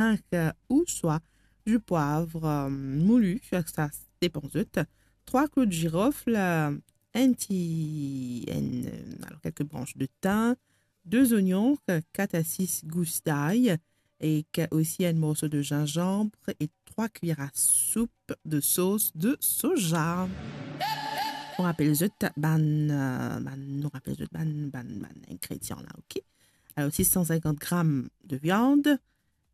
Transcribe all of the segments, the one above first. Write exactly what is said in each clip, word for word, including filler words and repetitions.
grin, euh, ouswa dipwav, euh, mouli, sa depann zot. Trwa klou zirof, euh, enn ti, enn, euh, alor, kelke branch de tin, de zonion, euh, kat a sis gous lay, ek osi enn morso de zinzanm e trwa kuiyer a soup de sos de soja. Nou rapel zot bann, euh, bann, nou rapel zot bann, bann, bann ingredian la, ok? Alor, sis san sinkant gram de viann,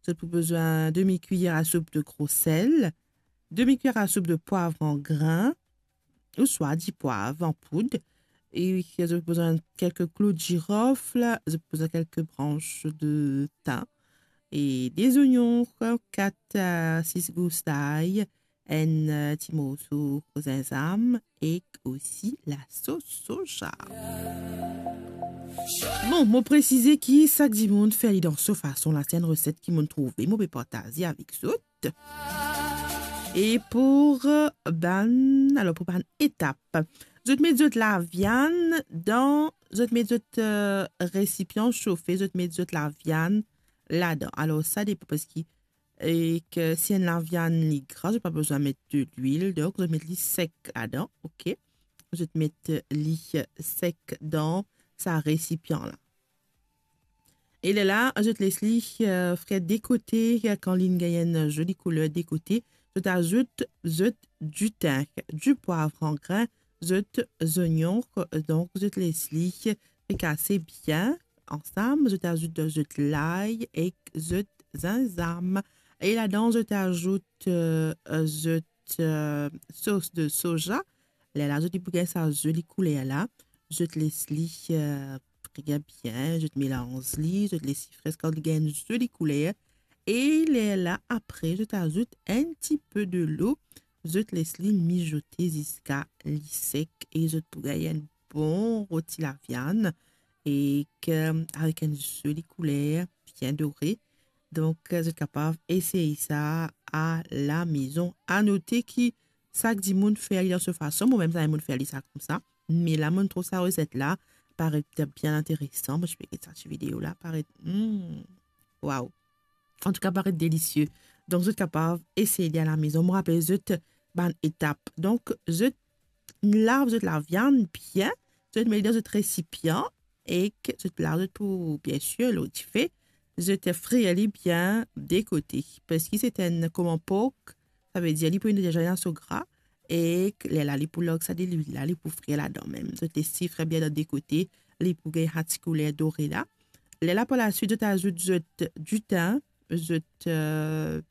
zot pou bizin demi kuiyer a soup de gro sel, demi kuiyer a soup de pwav an grin, ouswa dipwav an poud, e zot pou bizin kelke klou zirof, zot pou bizin kelke branch de tin, e de zonion, kat a sis gous lay, enn, euh, ti morso zinzanm, ek osi lasos soja. Bon, mo presize ki sak dimoun fer li dan so fason, la se enn reset ki mo'nn trouve, mo pe partaze avek zot. E pou, euh, bann, alor, pou bann etap, zot met zot laviann dan, zot met zot, euh, resipian sofe, zot met zot laviann ladan. Alor, sa depann, parski, ek si enn laviann li gra, zot pa bizin met delwil, donk zot met li sek ladan, ok? Zot met li sek dan sa resipian la. E lerla, zot les li, euh, frir de kote, kan linn gagn enn zoli kouler de kote, zot azout zot ditin, dipwav an grin, zot zonion, donk zot les li frikase bien ansam, zot azout zot lay ek zot zinzanm. E ladan, zot azout, euh, zot, euh, sos de soja. Lerla, zot li pou gagn sa zoli kouler la. Zot les li, euh, frir bien, zot melanz li, zot les li frir kan li gagn zoli kouler. E lerla, apre, zot azout enn tipe delo, zot les li mizote ziska li sek e zot pou gagn enn bon roti laviann ek avek enn zoli kouler bien dore. Donk, zot kapav esey sa alamezon. Anote ki sak dimoun fer li dan so fason, momem, sa dimoun fer li sa koumsa. Me la, mo'nn trouv sa reset la paret bien interesan. Mo ti pe get sa ti video la, paret, hmm, waw. Antouka, paret delisie. Donk, zot kapav esey li alamezon. Mo rapel zot bann etap. Donk, zot lav zot laviann bien, zot met li dan zot resipian, ek zot lav zot pou, biensir, lor dife, zot frir li bien de kote. Parski se enn koman pork, savedir li pou ena deza ena so gra, ek lerla li pou larg sa delwil la, li pou frir ladan mem. Zot les li frir bien dan de kote, li pou gagn sa ti kouler dore la. Lerla, par laswit, zot azout zot ditin, zot, euh,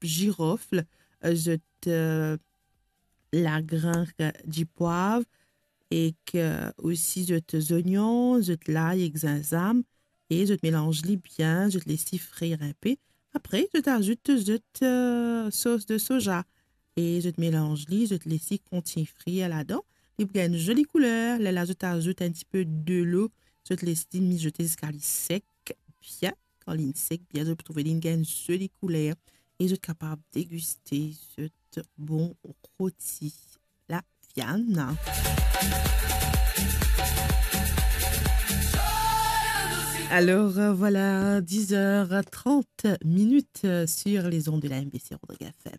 zirof, zot, euh, lagrin dipwav, ek, euh, osi zot zonion, zot lay ek zinzanm, e zot melanz li bien, zot les li frir inpe. Apre, zot azout zot, euh, sos de soja, e zot melanz li, zot les li kontign frir ladan. Li pou gagn enn zoli kouler. Lerla, zot azout enn tipe delo, zot les li mizote ziska li sek bien. Kan linn sek bien, zot pou trouve linn gagn enn zoli kouler e zot kapav degiste zot bon roti laviann. Alors, euh, voilà, dix heures trente minutes, euh, sur les ondes de la M B C Rodrigues F M.